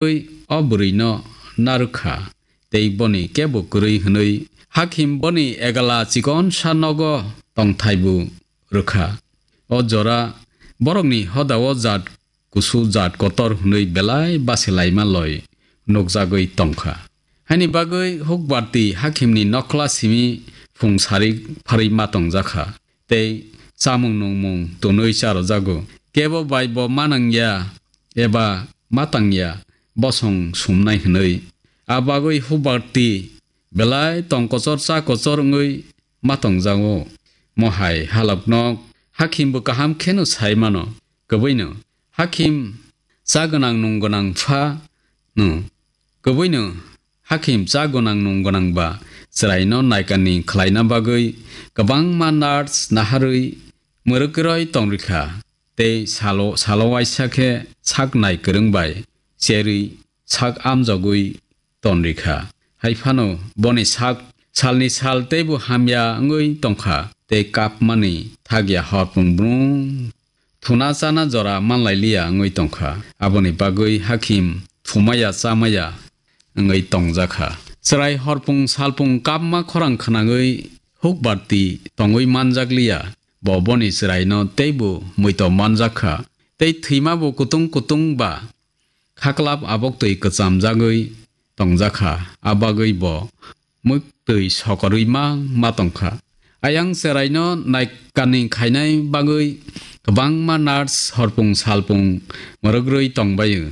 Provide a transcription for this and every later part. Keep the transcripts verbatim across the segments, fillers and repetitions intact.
bagwi o bwrwino narwk kha, tei boni kebo kwrwi hwnwi hakhim boni egala chikonsa nogo tongthaibu rwkha. O jora borokni hodao jat kusu jat kotor hwnwi belai basilaima loi nukjagwi tongkha. Haini bagwi hukbarti hakimni nokhla simi phung sari pharwi ma tongjakha, tei chamung nungmung tonwi charojago. Kebo bai bo manangya eba matangya bosong sumnai hwnwi. A bagwi hukbarti belai tongkochor chakochor wngwi ma tongjago. Mohai halokno hakhimbo kaham kheno sai mano. Kwbwino hakhim cha gwnang nung gwnang pha no. Kwbwino hakhim cha gwnang nung gwnang ba chwraino naikani khlaina bagwi kwbangma nurse naharwi mwrwkroi tongrikha, tei salo, salo waisa khe sak nai kwrwng bai cherwi sak amjogwi tonrikha. Hai phano boni sak salni sal teibo hamya wngwi tongkha, tei kapmani thakya horpung brung thuna chana jora manlailiya wngwi tongkha. Aboni bagwi hakhim thumaya chamaya wngwi tongjakha. Chwrai horpung salpung kapma khorang khwnangwi hukbarti tongwi manjakliya. Bo boni chwraino teibo muito manjakha, tei thwimabo kutung kutung ba khaklap aboktwi kwchamjagwi tongjakha, a bagwi bo mwktwi sokorwi ma, ma tongkha. Ayang chwraino naikani khainai bagwi kwbangma nurse horpung salpung mwrwgrwi tongbaio.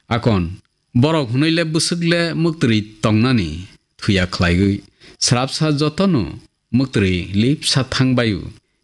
Akon, borok hwnwi le bwswk le mwktwi tongnani thuya khlaigwi, srapsa jotono mwktwi lipsa thangbaio.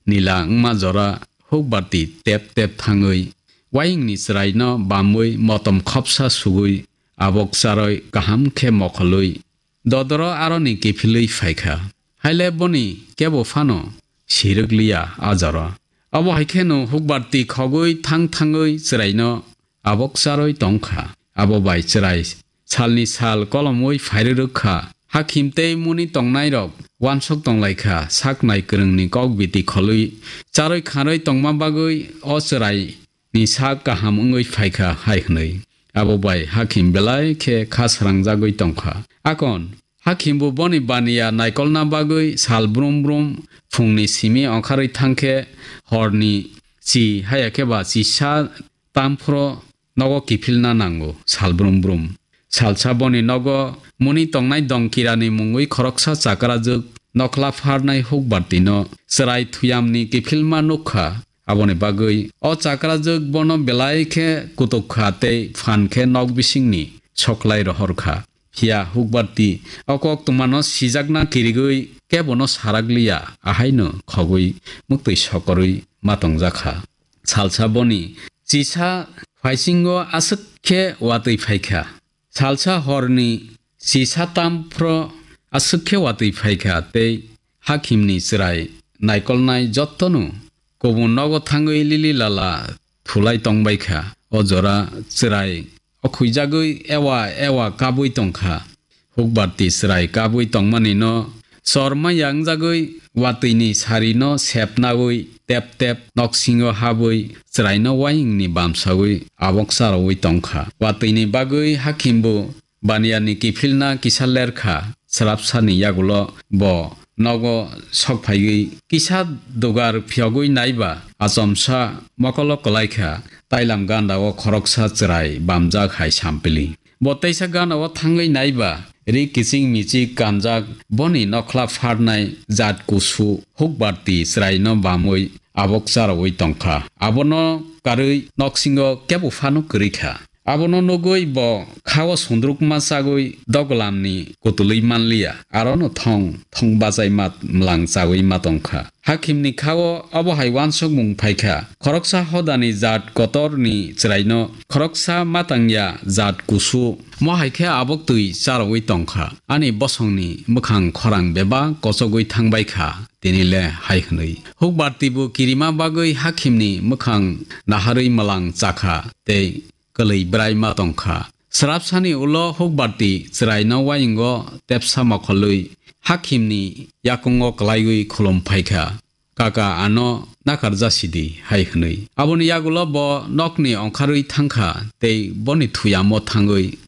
Nila wngma jora hukbarti tep tep thangwi, wayingni chwraino bamwi motom khopsa sugwi, abok charoi kaham khe mokholwi dodoro aroni kiphilwi phaikha. Haile boni kebo phano sirwkliya a jora. Abo hai kheno hukbarti khogwi thang thangwi chwraino abok charwi tongkha. Abo bai chwrai salni sal kolomwi phairwrwk kha. Hakhim tei muni tongnairok wansok tonglaikha, saknai kwrwngni kok biti kholwi charwi kharwi tongma bagwi o chwraini sak kaham wngwi phaikha hai hwnwi. Abo bai hakhim belai khe kha srangjagwi tongkha. Akon, hakhimbo boni baniya naikolna bagwi sal brum brum phungni simi ongkharwi thangkhe horni chi haya khe ba chisa tamphro nogo kiphilna nango sal brum brum. Salsa boni nogo muni tongnai dongkirani mungwi khoroksa chakrajwk nokhla pharnai hukbartino chwrai thuyamni kiphilma nukha. Aboni bagwi o chakrajwk bono belai khe kutuk kha tei phan khe nok bisingni soklai rohor kha. Phiya hukbarti o koktwmano sijakna kirigwi kebono sarakliya, ahaino khogwi mwktwi sokorwi ma tongjakha. Salsa boni chisa phaisingo aswk khe watwi phaikha. Salsa horni chisa tamphro aswk khe watwi phaikha tei hakhimni chwrai naikolnai jottonu kubun nogo thangwi lili lala thulai tongbaikha. O jora chwrai o khuijagwi ewa ewa kabwi tongkha. Hukbarti chwrai kabwi tongmanino chorma yangjagwi watwini sarino sepnawi tep tep noksingo habwi chwraino wayingni bamsawi abok charawi tongkha. Watwini bagwi hakhimbo baniyani kiphilna kisa lerkha, srapsani yagulo bo nogo sokphaiwi kisa dugar phiyogwi naiba achomsa mokolo kwlaikha, tailam gandao khoroksa chwrai bamjak hai sampili. Bo teisa gandao thangwi naiba ri kiching michik kanjak boni nokhla pharnai jat kusu hukbarti chwraino bamwi abok charawi tongkha. Abono karwi noksingo kebo phano kwrwikha. Abono nugwi bo khao sundrukma chagwi doglamni kutulwi manliya, arono thong thong bachaima mwlang chagwi ma tongkha. Hakhimni khao obo hai wansukmung phaikha, khoroksa hodani jat kotorni chwraino khoroksa matangya jat kusu. Mo hai khe aboktwi charogwi tongkha. Ani bosongni mwkhang khorang bebak kochogwi thangbaikha. Tini le hai hwnwi hukbartibo kirima bagwi hakhimni mwkhang naharwi mwlang chakha tei kwlwi bwrai ma tongkha. Srapsani ulo hukbarti chwraino wayingo tepsa mokholwi hakhimni yakungo kwlaiwi khulum phaikha, "Kaka, ano nakarjasidi," hai hwnwi. Aboni yagulo bo nokni ongkharwi thangkha tei boni thuyamo thangwi